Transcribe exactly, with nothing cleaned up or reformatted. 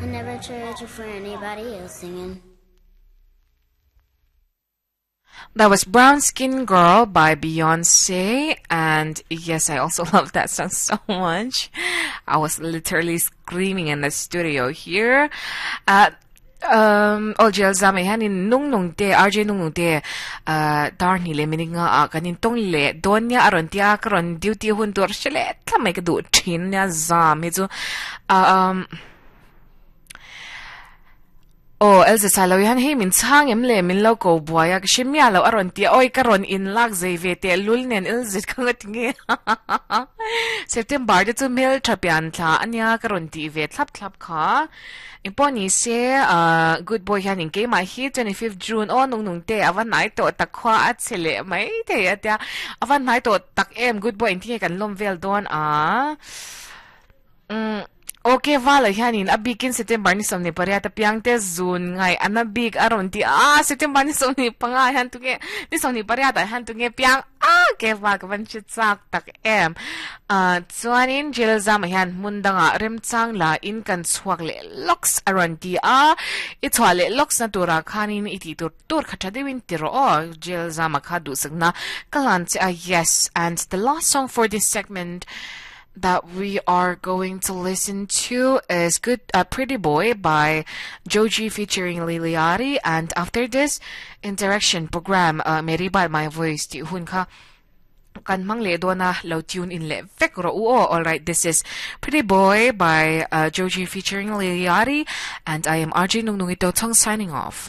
I never trade you for anybody else singing. That was Brown Skin Girl by Beyonce. And yes, I also love that song so much. I was literally screaming in the studio here. Uh, um ol jel zame hanin nung nung te R J nung nung te uh dar ni le mini nga a kanin tong le donya aron tia karon duty hun tur shele thamai ka du thin nya zam hi chu um Oh, Elza salo yan hey min chang em le min lo ko buaya ka shimya lo aron ti oi karon in lak zei ve te lul nen Elza ka nga tinge September de chu mel thapian thla ania karon ti ve thlap thlap kha imponi se uh good boy hian in ke ma hi twenty-fifth June o nung nung te awan nai to tak khwa a chele mai te atia awan nai to tak em. Good boy in tinge kan lom vel don a mm Okay, wala hianin a bikin September ni somni pariat piang te zun ngai ana big aron ti a September ni somni panga han tunge ni somni pariat han tunge piang a ke wa ka ban chi chak tak em a chuanin jel zam hian mundanga rem chang la in kan chuak le locks aron ti a i chwa le locks na tura khanin iti tur tur khatha dewin tiro o jel zama kha du sakna kalan che a. Yes, and the last song for this segment that we are going to listen to is Good uh, Pretty Boy by Joji featuring Liliari. And after this interaction program, uh, Mary by My Voice ti hun kha kan mang le dona lo tune in le vek ro u o. All right, this is Pretty Boy by uh, Joji featuring Liliari, and I am R J Nung Nungito Tong signing off.